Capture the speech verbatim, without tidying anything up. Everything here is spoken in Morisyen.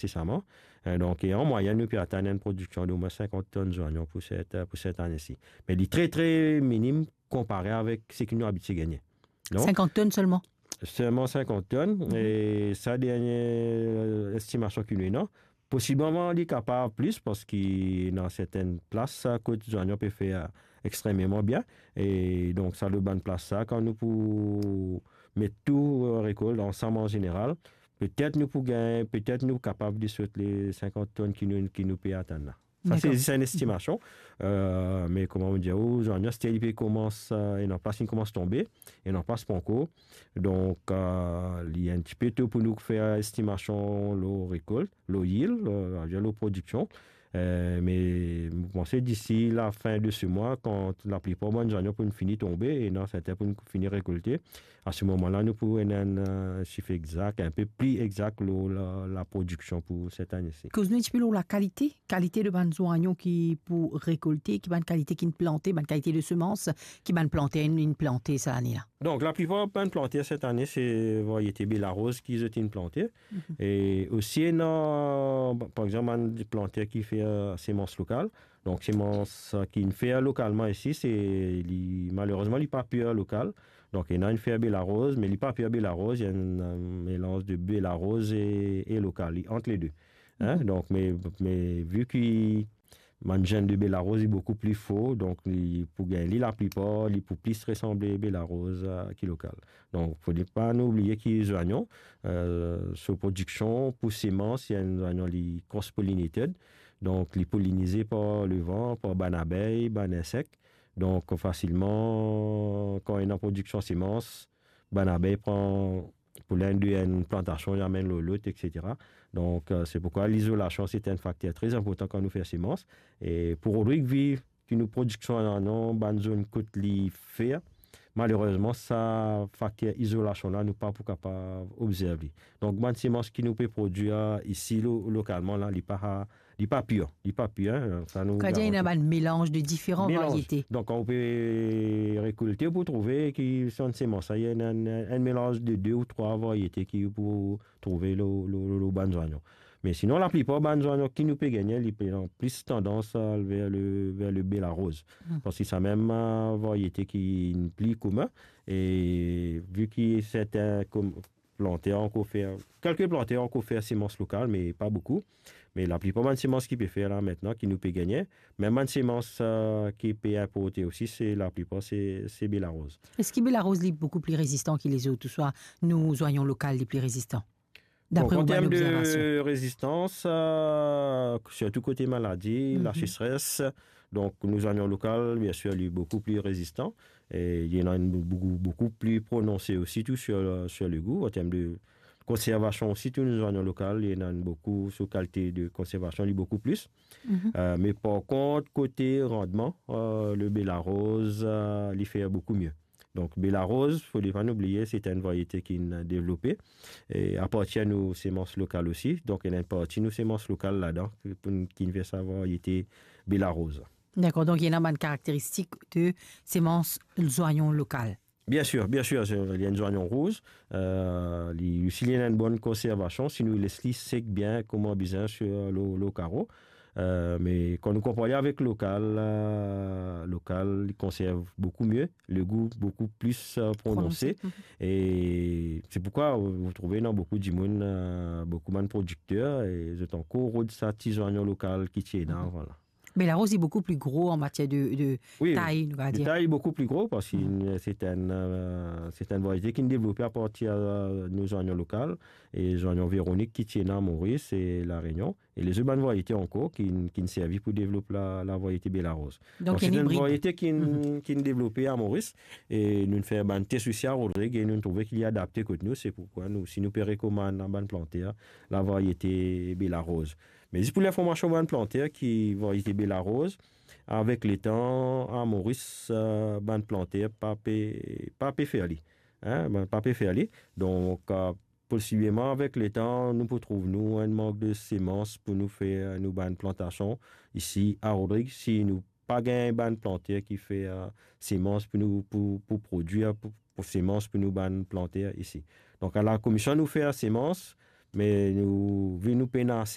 insesaman. Eh, donk, e an mwayenn, nou pe atenn enn prodiksion de omwin sinkant tonn zwanyon pou set, pou set ane-si. Me li tre, tre minim konpare avek seki nou abitie gagne. Non? Sinkant tonn selman? Selman sinkant tonn. Mhm. E sa dernie, eh, estimasion ki nou ena, posibleman li kapav plis, parski ena sertin plas, sa, kot zwanyon pe fer, eh, extrememan bien. E donk, sa, lor bann plas sa, kan nou pou met tou, eh, rekolt ansam an zeneral, petet nou pou gagn, petet nou kapav desot le sinkant tonn ki nou, ki nou pe atenn la. Sa, se, dakor, zis enn estimasion. Eh, me kouma mo dir ou, zwanyon, aster li pe koumans, eh, ena plas inn koumans tonbe, ena plas pankor. Donk, eh, li enn tipe to pou nou fer estimasion lor rekolt, lor yield, eh, lor prodiksion. Eh, me mo panse disi lafin de se mwa, kan laplipar bann zwanyon pou fini tonbe, ena sertin pou fini rekolte, a se moman la, nou pou ena enn, eh, sif exak, enn pe pli exak lor la, laprodiksion pou set ane-si. Koz nou enn tipe lor lakalite, kalite de bann zwanyon ki pou rekolte, ki bann kalite ki'nn plante, bann kalite de semans ki bann planter inn plante sa lane la. Donk, laplipar bann planter set ane, se variete Belaroz ki zot inn plante. Mhm. E osi, ena, par exanp, bann planter ki fer, eh, semans lokal. Donk, semans, eh, ki'nn fer lokalman isi, se li, malerezman, li pa pir lokal. Donk, ena inn fer Belaroz, me li pa pir Belaroz, li enn, eh, melanz de Belaroz e, e lokal, li ant le de. Hein? Mhm. Donk, me, me vi ki bann zenn de Belaroz, li boukou pli for, donk li pou gagn li laplipar, li pou plis resanble Belaroz, eh, ki lokal. Donk, fode pa nou oubliye ki zwanyon, eh, so prodiksion pou semans, li enn zwanyon, li cross-pollinated, donk li polinize par levan, par bann abey, bann insek. Donk, fasilman, kan ena prodiksion semans, bann abey pran polen de enn plantasion, li amenn lor lot, et cetera. Donk, eh, se poukwa lizolasion, se enn fakter tre inportan kan nou fer semans. E pou Rodrig, vi ki nou prodiksion ena dan bann zone kot li fer, malerezman, sa fakter izolasion la, nou pa pou kapav obzerv li. Donk, bann semans ki nou pe prodwir isi lo-, lokalman la, li pa, li pa pir, li pa pir, hein, sa nou garanti. Setadir ena bann melanz de diferan variete. Melanz. Donk, kan ou pe rekolte, ou pou trouve ki se enn semans la, ena enn, enn, enn melanz de de ou trwa variete ki ou pou trouve lo, lo, lo, lo bann zwanyon. Me sinon, laplipar bann zwanyon ki nou pe gagne, li pe ena plis tandans al ver le, ver le Belaroz. Hmm. Parski sa mem, eh, variete ki pli komin, e vi ki sertin kom-, planter ankor fer, kelke planter ankor fer semans lokal, me pa boukou. Me laplipar bann semans ki pe fer la aster, ki nou pe gagne, mem bann semans, eh, ki pe inporte osi, se laplipar se, se Belaroz. Eski Belaroz li boukou pli rezistan ki lezot, ouswa nou zwanyon lokal li pli rezistan? Dapre ou bann obzervasion. Donk, an term de rezistans, eh, sirtou kote maladi, mhm, laseseres, donk nou zwanyon lokal, biensir, li boukou pli rezistan. E li ena enn boukou, boukou pli prononse osi tou sir, sir legou, an term de konservasion osi tou, nou zwanyon lokal, li ena enn boukou, so kalite de konservasion, li boukou plis. Mhm. Eh, me par kont, kote randman, eh, le Belaroz, eh, li fer boukou mie. Donk, Belaroz, fode pa nou oubliye, se enn variete ki'nn devlope, e apartir nou semans lokal osi. Donk, ena enn parti nou semans lokal ladan, ki, pou, ki'nn fer sa variete Belaroz. Dakor, donk ena bann karakteristik de semans zwanyon lokal. Biensir, biensir, se, li enn zwanyon rouz, eh, li osi li ena enn bonn konservasion, si nou les li sek bien kouma bizin sir lo, lo karo. Eh, me kan nou konpar li avek lokal, eh, lokal, li konserv boukou mie, legou boukou plis, eh, prononse. Prononse, mhm. E se poukwa ou, ou trouve ena boukou dimoun, eh, boukou bann prodikter, e zot ankor rod sa ti zwanyon lokal ki ti ena, mhm, vwala. Belaroz li boukou pli gro an matier de, de, wi, tay, nou va dir. De tay, boukou pli gro, parski, mhm, se enn, eh, se enn variete ki'nn devlope apartir, eh, nou zwanyon lokal, e zwanyon Véronique ki ti ena Moris e La Réunion. E lezot bann variete ankor ki, ki'nn servi pou devlop la, lavariete Belaroz. Donk, donk, se enn variete ki'nn, mhm, ki'nn devlope a Moris, e nou'nn fer bann tes osi a Rodrig, e nou'nn trouve ki li adapte kot nou, se poukwa nou, si nou pe rekomann a bann planter, lavariete Belaroz. Me zis pou linformasion bann planter ki variete Belaroz, avek letan, a Moris, eh, bann planter pa pe, pa pe fer li. Hein, bann pa pe fer li. Donk, eh, posibleman avek letan, nou pou trouv nou enn mank de semans pou nou fer nou bann plantasion isi a Rodrig, si nou pa gagn bann planter ki fer, eh, semans pou nou, pou, pou prodwir, pou, pou semans pou nou bann planter isi. Donk, a la komision nou fer semans, me nou, vi nou pena ase